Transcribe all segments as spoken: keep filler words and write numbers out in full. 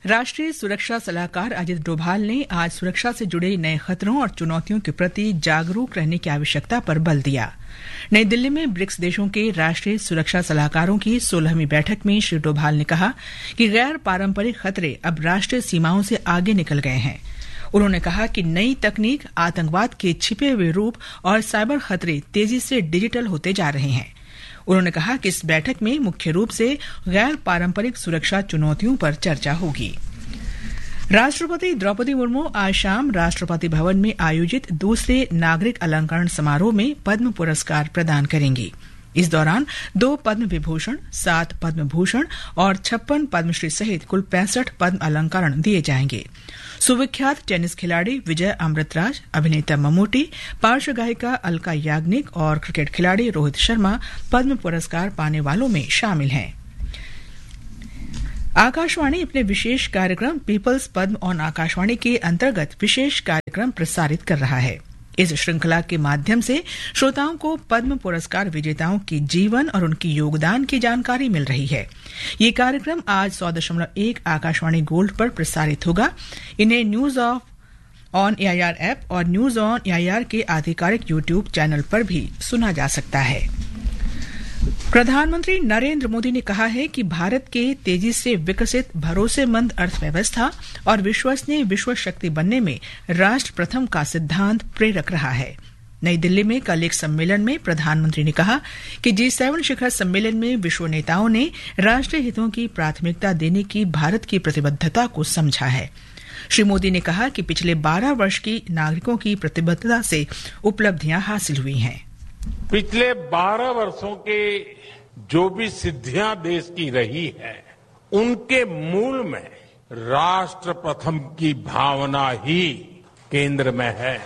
राष्ट्रीय सुरक्षा सलाहकार अजीत डोभाल ने आज सुरक्षा से जुड़े नए खतरों और चुनौतियों के प्रति जागरूक रहने की आवश्यकता पर बल दिया। नई दिल्ली में ब्रिक्स देशों के राष्ट्रीय सुरक्षा सलाहकारों की सोलहवीं बैठक में श्री डोभाल ने कहा कि गैर पारंपरिक खतरे अब राष्ट्रीय सीमाओं से आगे निकल गए हैं। उन्होंने कहा कि नई तकनीक आतंकवाद के छिपे हुए रूप और साइबर खतरे तेजी से डिजिटल होते जा रहे हैं। उन्होंने कहा कि इस बैठक में मुख्य रूप से गैर पारंपरिक सुरक्षा चुनौतियों पर चर्चा होगी। राष्ट्रपति द्रौपदी मुर्मू आज शाम राष्ट्रपति भवन में आयोजित दूसरे नागरिक अलंकरण समारोह में पद्म पुरस्कार प्रदान करेंगी। इस दौरान दो पद्म विभूषण, सात पद्म भूषण और छप्पन पद्मश्री सहित कुल पैंसठ पद्म अलंकरण दिए जाएंगे। सुविख्यात टेनिस खिलाड़ी विजय अमृतराज, अभिनेता मम्मूटी, पार्श्व गायिका अलका याग्निक और क्रिकेट खिलाड़ी रोहित शर्मा पद्म पुरस्कार पाने वालों में शामिल हैं। आकाशवाणी अपने विशेष कार्यक्रम पीपल्स पद्म ऑन आकाशवाणी के अंतर्गत विशेष कार्यक्रम प्रसारित कर रहा है। इस श्रृंखला के माध्यम से श्रोताओं को पद्म पुरस्कार विजेताओं के जीवन और उनके योगदान की जानकारी मिल रही है। ये कार्यक्रम आज सौ दशमलव एक आकाशवाणी गोल्ड पर प्रसारित होगा। इन्हें news of on AIR app और न्यूज ऑन एआईआर के आधिकारिक YouTube चैनल पर भी सुना जा सकता है। प्रधानमंत्री नरेंद्र मोदी ने कहा है कि भारत के तेजी से विकसित, भरोसेमंद अर्थव्यवस्था और विश्वसनीय विश्व शक्ति बनने में राष्ट्र प्रथम का सिद्धांत प्रेरक रहा है। नई दिल्ली में कल एक सम्मेलन में प्रधानमंत्री ने कहा कि जी सेवन शिखर सम्मेलन में विश्व नेताओं ने राष्ट्रीय हितों की प्राथमिकता देने की भारत की प्रतिबद्धता को समझा है। श्री मोदी ने कहा कि पिछले बारह वर्ष की नागरिकों की प्रतिबद्धता से उपलब्धियां हासिल हुई हैं। पिछले बारह वर्षों के जो भी सिद्धियां देश की रही है, उनके मूल में राष्ट्र प्रथम की भावना ही केंद्र में है।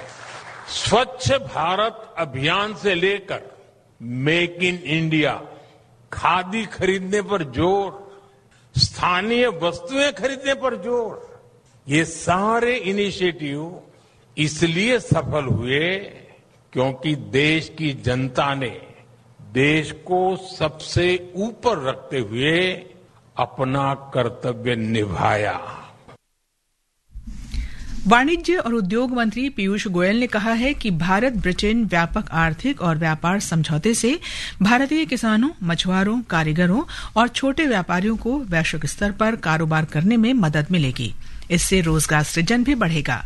स्वच्छ भारत अभियान से लेकर मेक इन इंडिया, खादी खरीदने पर जोर, स्थानीय वस्तुएं खरीदने पर जोर, ये सारे इनिशिएटिव इसलिए सफल हुए क्योंकि देश की जनता ने देश को सबसे ऊपर रखते हुए अपना कर्तव्य निभाया। वाणिज्य और उद्योग मंत्री पीयूष गोयल ने कहा है कि भारत ब्रिटेन व्यापक आर्थिक और व्यापार समझौते से भारतीय किसानों, मछुआरों, कारीगरों और छोटे व्यापारियों को वैश्विक स्तर पर कारोबार करने में मदद मिलेगी। इससे रोजगार सृजन भी बढ़ेगा।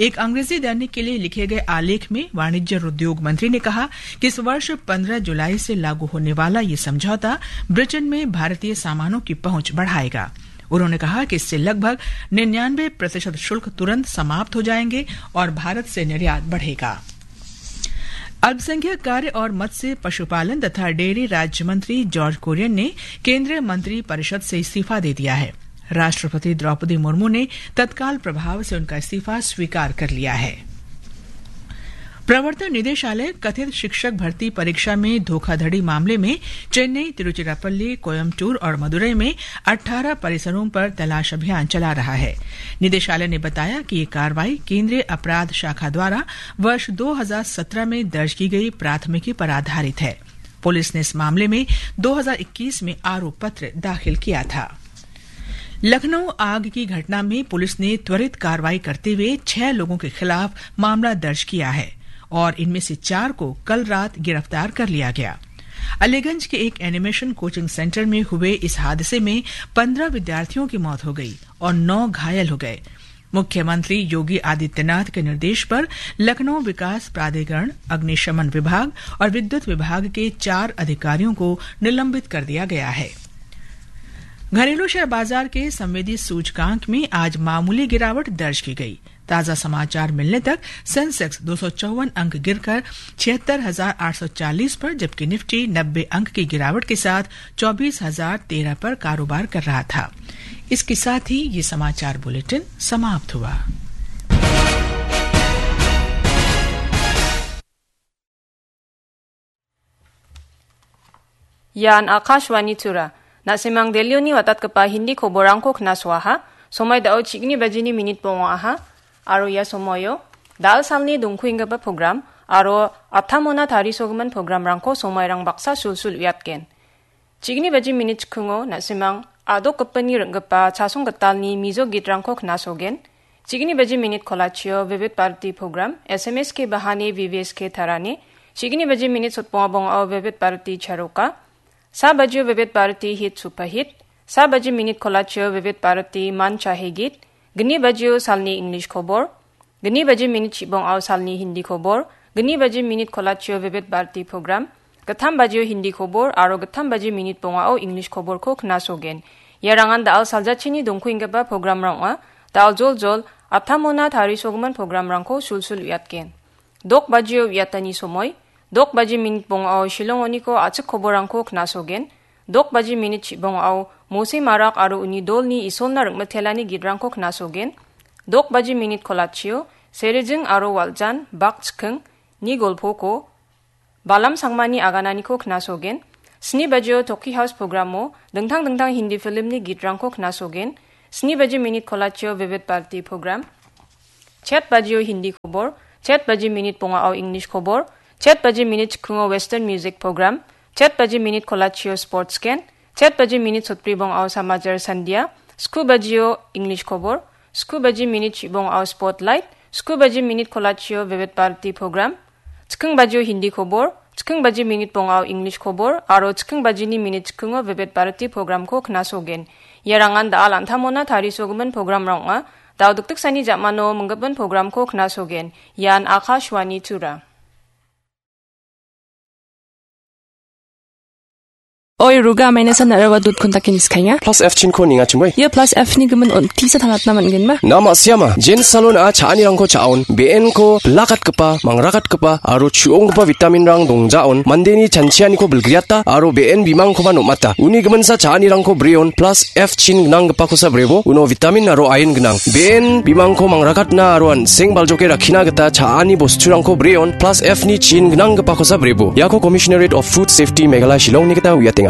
एक अंग्रेजी दैनिक के लिए लिखे गए आलेख में वाणिज्य और उद्योग मंत्री ने कहा कि इस वर्ष पन्द्रह जुलाई से लागू होने वाला ये समझौता ब्रिटेन में भारतीय सामानों की पहुंच बढ़ाएगा। उन्होंने कहा कि इससे लगभग निन्यानवे प्रतिशत शुल्क तुरंत समाप्त हो जाएंगे और भारत से निर्यात बढ़ेगा। अल्पसंख्यक कार्य और मत्स्य, पशुपालन तथा डेयरी राज्य मंत्री जॉर्ज कुरियन ने केंद्रीय मंत्री परिषद से इस्तीफा दे दिया है। राष्ट्रपति द्रौपदी मुर्मू ने तत्काल प्रभाव से उनका इस्तीफा स्वीकार कर लिया है। प्रवर्तन निदेशालय कथित शिक्षक भर्ती परीक्षा में धोखाधड़ी मामले में चेन्नई, तिरुचिरापल्ली, कोयम्बटूर और मदुरई में अठारह परिसरों पर तलाश अभियान चला रहा है। निदेशालय ने बताया कि ये कार्रवाई केंद्रीय अपराध शाखा द्वारा वर्ष दो हज़ार सत्रह में दर्ज की गई प्राथमिकी पर आधारित है। पुलिस ने इस मामले में दो हज़ार इक्कीस में आरोप पत्र दाखिल किया था। लखनऊ आग की घटना में पुलिस ने त्वरित कार्रवाई करते हुए छह लोगों के खिलाफ मामला दर्ज किया है और इनमें से चार को कल रात गिरफ्तार कर लिया गया। अलीगंज के एक एनिमेशन कोचिंग सेंटर में हुए इस हादसे में पन्द्रह विद्यार्थियों की मौत हो गई और नौ घायल हो गए। मुख्यमंत्री योगी आदित्यनाथ के निर्देश पर लखनऊ विकास प्राधिकरण, अग्निशमन विभाग और विद्युत विभाग के चार अधिकारियों को निलंबित कर दिया गया है। घरेलू शेयर बाजार के संवेदी सूचकांक में आज मामूली गिरावट दर्ज की गई। ताजा समाचार मिलने तक सेंसेक्स दो सौ चौवन अंक गिरकर छिहत्तर हजार आठ सौ चालीस पर, जबकि निफ्टी नब्बे अंक की गिरावट के साथ चौबीस हजार तेरह पर कारोबार कर रहा था। इसके साथ ही ये समाचार बुलेटिन समाप्त हुआ। Ian Akashvani Tura. Na·simang Delhioni watatgipa Hindi koborangko knasoaha. Somoi dao chigni bajini minit bongoaha. Aro ia somoio dal salni dongkuenggipa program aro aptamona tarisogimin programrangko somoirang baksa sulsul uiatgen. Chigni baji minit chikungo na·simang adokgipini ring·gipa chasong gitalni mijo gitrangko knasogen. Chigni baji minit kolachio Vivid Bharati program, S M S ke bahane V V S ke tarane. Chigni baji minit sotbonga bongao Vivid Bharati charoka. Sa bajio Vivid Bharati hit superhit. Sa baji minit kolachio Vivid Bharati man chahe git. Gni bajio salni English khobor. Gni baji minit chibongao salni Hindi khobor. Gni baji minit kolachio Vivid Bharati program. Gittam bajio Hindi khobor aro gittam baji minit bongao English khoborko knasogen. Iarangan da·al saljachini dongkuenggipa programrang ong·a. Da·al joljol, aptamona tarisogimin programrangko sulsul uiatgen. Dok bajio uiatani somoi, dok baji minit bongao Shillong oniko a·chik koborrangko knasogen. Dok baji minit chibongao Mose Marak aro uni dolni Isolna ring·mitelani gitrangko knasogen. Dok baji minit kolachio, Serijing aro Waljan, Bak Chiking, ni golpoko, Balam Sangmani agananiko knasogen. Sni bajio Toki House programo dingtang dingtang Hindi filmni gitrangko knasogen. Sni baji minit kolachio Vivid Bharati program. Chet bajio Hindi khobor, chet baji minit bongao English khobor, chet baji minit chikungo Western music program, chet baji minit kolachio sports ken, chet baji minit sotbri bongao Samajar Sandia, sku bajio English khobor, sku baji minit chibongao spotlight, sku baji minit kolachio Vivid Bharati program, chiking bajio Hindi khobor, chiking baji minit bongao English khobor, aro chiking bajini minit chikungo Vivid Bharati programko knasogen. Iarangan da·al an·tamona tarisogimin programrang ong·a. Da·o dikdiksani jamano minggipin programko knasogen. Ian Akashvani Tura. Oi, Ruga, maina san narawa dot kun takin iskainga. Plus F chinko ninga chimoi. Ia plus F ni gimin on tisa tangatna man gen ma? Na ma siama. Jen salon a cha·anirangko cha·on. B N ko blakat gipa, mangrakatgipa aro chu·onggipa vitamin rang dongjaon. Mandeni chanchianiko bilgriata aro B N bimangkoba nomata. Uni giminsa cha·anirangko breon plus F chin gnanggipakosa brebo, uno vitamin aro iron gnang. B N bimangko mangrakatna aro an·seng baljoke rakkina gita cha·ani bosturangko breon plus F ni chin gnanggipakosa brebo. Iako Commissionerate of Food Safety Meghalaya Shillongni gita uiatenga.